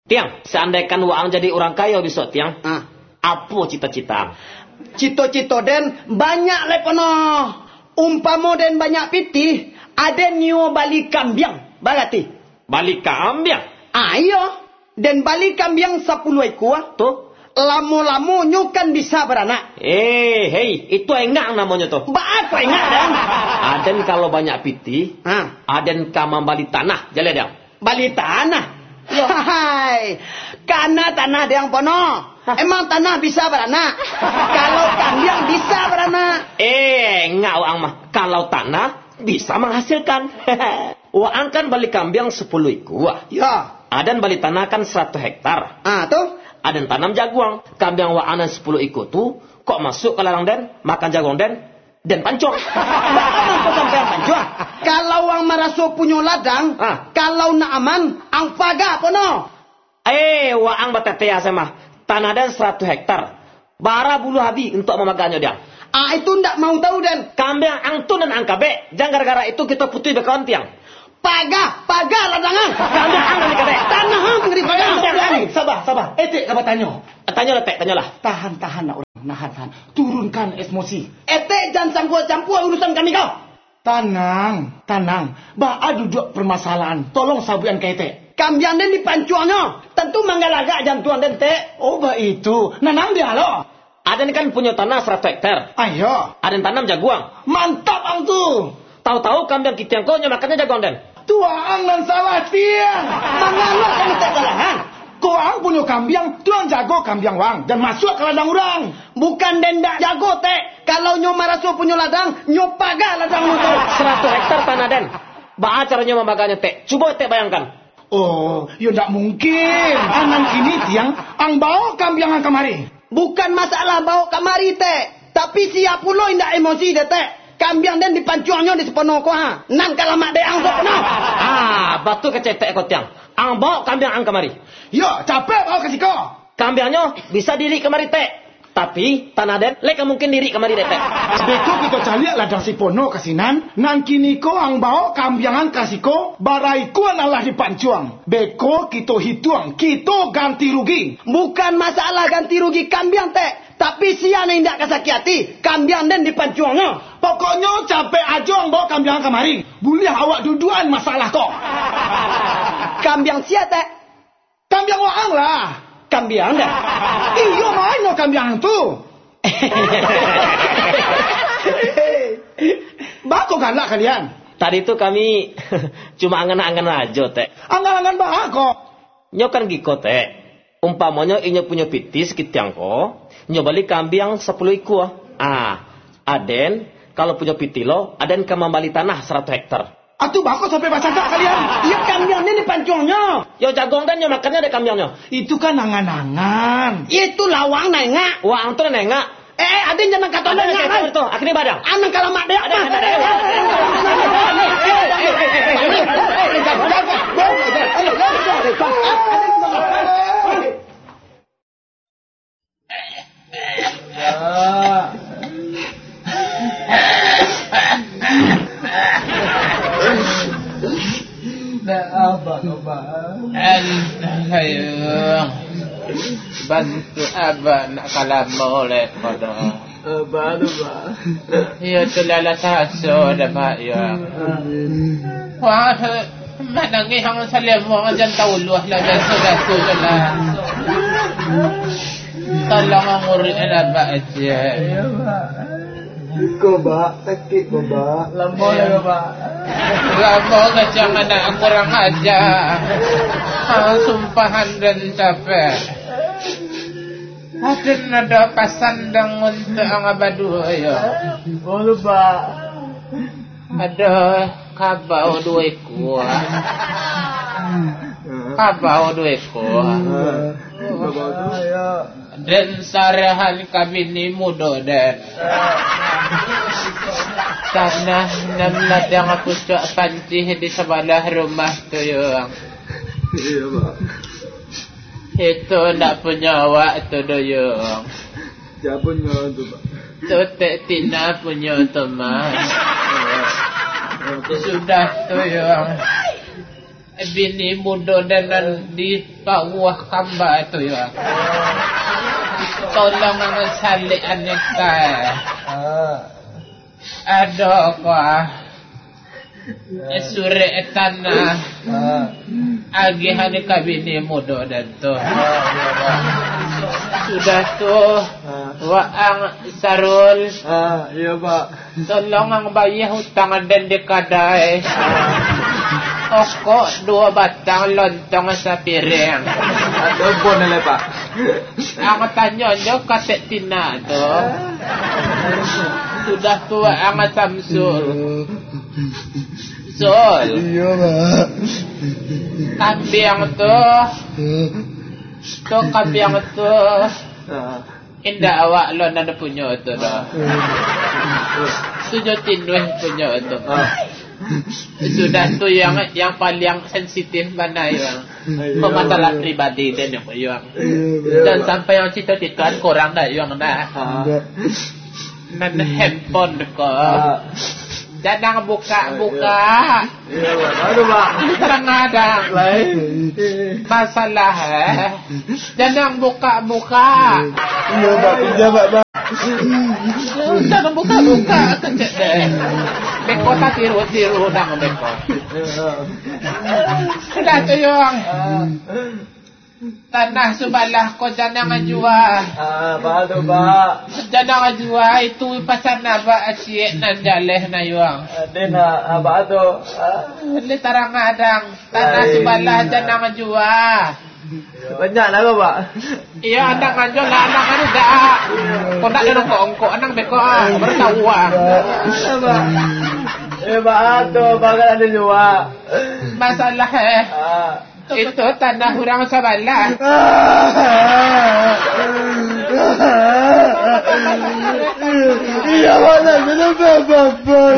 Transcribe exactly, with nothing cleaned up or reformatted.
Tiang, seandaikan waang jadi urang kayo bisuak, Tiang, Ah. apo cita-cita ang? Cito-cito den banyak lai pono. Umpamo den banyak pitih, aden nio bali kambiang, barati? Bali kambiang? Ah, iyo. Den bali kambiang sapuluah ikua. Tu? Lamo-lamo nyo kan bisa baranak. Eh, hei, itu engak namonyo tu. Baa kok engak, Dang? Aden kalau banyak pitih, Ha. aden ka mambali tanah, jaleh, Dang. Bali tanah? Iyo. Hai, kana tanah Dang pono. Hah? Emang tanah bisa baranak? Kalau kambiang bisa baranak. Eh, engak waang mah. Kalau tanah bisa menghasilkan. Waang kan bali kambiang sapuluah ikua. Yo. Aden bali tanah kan saratuih hektar. Ah, tu? Aden tanam jaguang. Kambiang waang nan sapuluah ikua tu, kok masuak ka ladang den, makan jaguang den, den pancuang. Baa mangko sampai ang pancuang? Kalau ang maraso punyo ladang, Ah. kalau nak aman, ang paga pono. Eh, waang batetea se mah. Tanah den saratuih hektar. Bara buluah abi untuak mamaganyo, Dang. Ah, itu ndak mau tahu, den. Kambiang ang tu nan ang kabek. Jan gara-gara itu kito putuih bakawan, Tiang. Paga, paga ladang ang. Kambiang ang nan dikabek. Tanah ang nan dipaga. Dang, Dang, saba, saba. Etek ka batanyo. Tanyolah, Tek, tanyolah. Tahan, tahan, nak urang. Nahan, tahan. Turunkan emosi. Etek jan campua-campua urusan kami ko. Tanang, tanang. Baa duduak permasalahan? Tolong sabuikan ka etek. Kambiang den dipancuangnyo. Tantu manggalagak jantuang den, Tek. Oh, baitu. Nanang dia lo. Aden kan punyo tanah saratuih hektar. Ayo. Aden tanam jaguang. Mantap ang tu. Tahu-tahu kambiang kitiang ko nyo makannyo jaguang den. Tu ang nan salah, Tiang. Mangalo kami tak salah, ha? Ko ang punyo kambiang, tu ang jago kambiang wang, jan masuak ka ladang urang. Bukan den ndak jago, Tek. Kalau nyo maraso punyo ladang, nyo paga ladang nyo tu. Saratuih hektar tanah den. Baa caronyo mamaganyo, Tek? Cubo Tek bayangkan. Oh, yo ndak mungkin. Anan kini, Tiang, ang baok kambiang ang kamari. Bukan masalah baok kamari, Tek. Tapi sia pulo indak emosi dek, Tek. Kambiang den dipancuangnyo di Sipono ko, ha. Nan ka lamak dek ang tu, no. Ah, batua kecek Tek ko, Tiang. Ang baok kambiang ang kamari. Yo, capek baok ka siko. Kambiangnyo bisa diirik kamari, Tek. Tapi, tanah den, lai ka mungkin diirik kamari dek, Tek. Beko kito caliak ladang Sipono ka sinan, nan kini ko ang baok kambiang ang ka siko, bara ikua nan lah dipancuang. Beko kito hituang, kito ganti rugi. Bukan masalah ganti rugi kambiang, Tek. Tapi sia nan indak ka sakik ati, kambiang den dipancuangnyo. Pokoknyo capek ajo ang baok kambiang ang kamari. Buliah awak duduakan masalah ko. Kambiang sia, Tek? Kambiang waang lah. Kambiang den? Iyo, ma nyo kambiang tu. Baa kok galak kalian? Tadi tu kami cuma angan-angan ajo, Tek. Angan-angan baa kok? Nyo kan giko, Tek. Umpamonyo inyo punyo pitih sakitiang ko, nyo bali kambiang sapuluah ikua. Ah, aden, kalau punyo pitih lo, aden ka mambali tanah saratuih hektar. Atu baa kok sampai bacakak kalian? Iyo, kambiang ni dipancuangnyo. Yo, jaguang den nyo makannyo dek kambiangnyo. Itu kan angan-angan. Itu lah waang nan engak. Waang tu nan engak. Eh, eh, aden jan nan kato nan engak, tu. Akhirnyo badang. Anan kalamak dek. Aden, aden, aden. Alah, ayo. Bantu abah nak kalamo lek kodo. Abah tu, Bah. Iyo tu lah, lah taso dah, Bah, iyo. Wah, manangih ang salemo jan tauluah lah, biaso-biaso je lah. Tolong ang urus lah, Bah, je. Iyo, Bah. Iko, Bah, sakik ko, Bah. Lamo lah, Bah. Lamo kacang anak kurang aja. Ah, sumpahan den capek. Aden ado pasan dang untuak ang baduo, yo. Baa tu, Bah? Ado kabau duo ikua. Kabau duo ikua. Den sarahan ka bini mudo den. Tanah nan ladang pucuak pancih di sabalah rumah tu, yo. Iyo, Bah. Itu ndak punyo awak tu doh, Yung. Sia punyo tu, Pak? Tu Tek Tina punyo tu, Mas. Sudah tu, Yung. Bini mudo dan nan di bawah kamba tu, yo. Tolong ang salikan nikah. Ado ko, ah. Surek tanah. Agihan ka bini mudo dan tu. Sudah tu, waang Sarul. Ah, iyo, Pak. Tolong ang bayia utang den di kadai. Okok duo batang, lontong sapiring. Ado bon lai, Pak. Ang tanyo jo katek Tina tu. Sudah tu ang Samsul. Sul. Iyo, Pak. Kambiang tu. Tu kambiang tu. Ah. Indak awak lo nan punyo tu doh. Ah. Tu jo Tinuih punyo tu. Ah. Sudah tu yang, yang paling sensitif bana, Yuang. Iyo. Pamasalah pribadi den, Yuang. Iyo, betul. Jan sampai yang cito-citoan kurang dah, Yuang, dah. Ah. Nan handphone ko. Ah. Jan ang buka-buka. Iyo, Pak. Aduh, Pak. Kadang-kadang. Lain. Masalah, eh. Jan ang buka-buka. Iyo, Pak. Iyo, Pak, Pak. Jan ang buka-buka, kecek deh. Beko tatiru-tiru dang beko. Sudah tu, Yuang. Ah. Tanah subalah ko jan ang jua. Ah, baa tu, Pak? Jan ang jua, itu pasan abak aciek nan jaleh na, Yuang. Ah, den, ah, baa tu? Ah. Lai tarang adang. Tanah subalah jan ang jua. Banyak lah ko, Pak? Iyo, anang anjo lah, anang anu dak. Kok ndak ado ongkok-ongkok, anang beko, ah, baru tahu, ah. Apa? Eh, baa tu, Pak, kan ado jua. Masalah, eh. Ah. Itu tanah urang sabalah. Iya, Pak, kenapa, Bapak?